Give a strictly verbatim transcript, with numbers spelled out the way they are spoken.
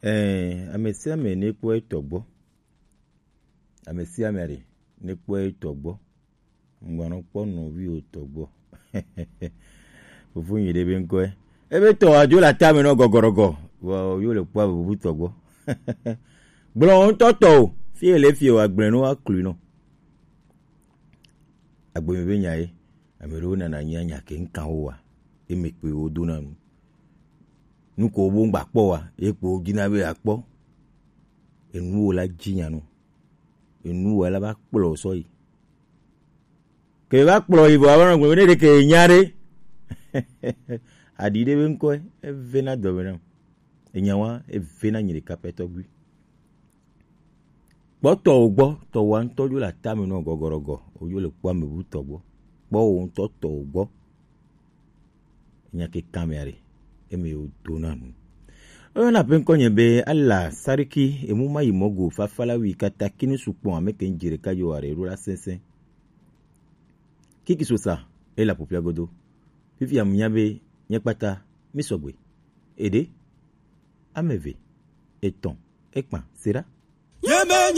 Ɛɛ, ame sia ame nekpɔ etɔ gbɔ. Ame sia ame aɖe nekpɔ etɔ gbɔ. Ŋgbanɔ kpɔ nɔvi wotɔ gbɔ. Fofo nyi ɖe be ŋkɔe. Ebe tɔ adzo le atame nɔ gɔgɔrɔgɔ. Vɔ yo le kpɔ bubu tɔ gbɔ. Gblɔ ŋutɔ tɔ o. Fie le fie wa gblẽ no aklui nɔ. Agbeme be nya ye. Ame ɖewo nana nya nya ke ŋkan wo wa. Eme kpe wo dona nu. Nu ko wo ŋgba kpɔ wa. Ye kpo wo dina be akpɔ. Enu wo la dzi nya nu. Enu wo la va kplɔ sɔ yi. Ke va kplɔ yi vɔ ava nɔ gblɔ be ne ɖe ke nya ɖe. Aɖi ɖe be ŋkɔe, evena dɔme nam. Enya wa, evena nyi ɖeka pɛ tɔgbi. Kpɔ tɔwò gbɔ, tɔwò ŋutɔ dzo le atame nɔ gɔgɔrɔgɔ, wò dzo le kpɔ ame bu tɔ gbɔ. Kpɔ wò ŋutɔ tɔwò gbɔ. Nya ke kan mea ɖe, eme wo do na nu. Oyɔna ƒe ŋkɔ nye be Ala Sariki, emu ma yi mɔ go, fafa la wi kata kini sukpɔn ame ke ŋdzi ɖeka yo aɖe ɖo la sɛnsɛn. Kiki sosa, e la ƒoƒia godo. Fifia mu nya be, nye kpata, mi sɔgbe. Eɖe, ame eve, etɔ̃, ekpa, sera.